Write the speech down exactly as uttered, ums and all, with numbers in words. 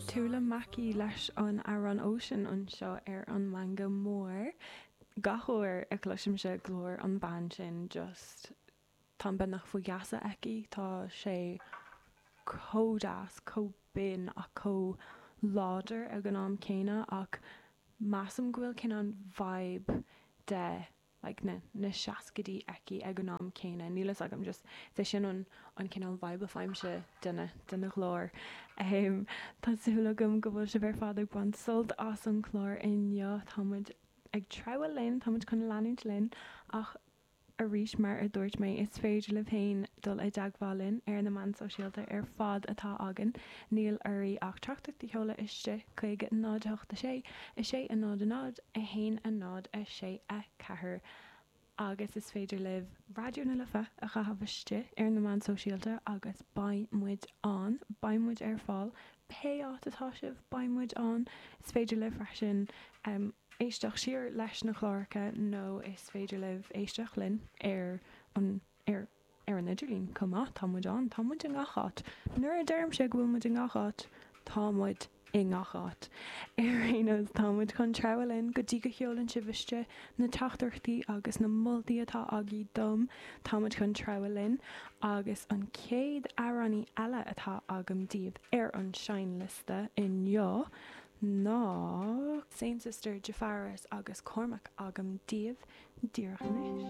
Tula Mackey leis an amhrán Ocean anseo ar an Meangadh Mór. Gach uair a chloisimse glór an bhean sin just táim beagnach faoi gheasa aici, tá sé chomh deas, chomh binn ach chomh láidir ag an am céanna ach measaim go bhfuil cineál vibe de like na na seascaidí aici ag an am céanna. Níl a fhios agam just sé sin an an cineál vibe a fhaighimse dena dena glór. Um, tá súil agam go bhfuil sibh ar fad ag baint sult as an chlár inniu Táimid ag treabhadh linn, táimid chun leanúint linn ach arís mar a dúirt mé is féidir libh féin dul i dteagmháil linn ar na meáin sóisialta ar fad atá againn, níl oraibh ach teachtaireacht a sheoladh istigh chuig náid a hocht a sé, a sé a náid a náid, a haon a náid a sé a ceathair agus is féidir libh Raidió na Life a chaitheamh istigh ar na meáin sóisialta agus beidh muid ann, beidh muid ar fáil, pé áit atá sibh, beidh muid ann. Is féidir libh freisin um, éisteacht siar leis na cláracha nó is féidir libh éisteacht linn ar an ar ar an idirlíon chomh maith tá muid ann, tá muid i ngach áit. Nuair a deirimse go bhfuil muid i ngach áit, tá muid i ngach áit. Ar aon nós tá muid chun treabhadh linn go dtí go sheolann sibh istigh na teachtaireachtaí agus na moltaí atá agaibh dom, tá muid chun treabhadh linn agus an chéad amhránaí eile atá agam daoibh ar an seinnliosta inniu ná Saint Sister Jafaris agus Cormac agam daoibh díreach anois.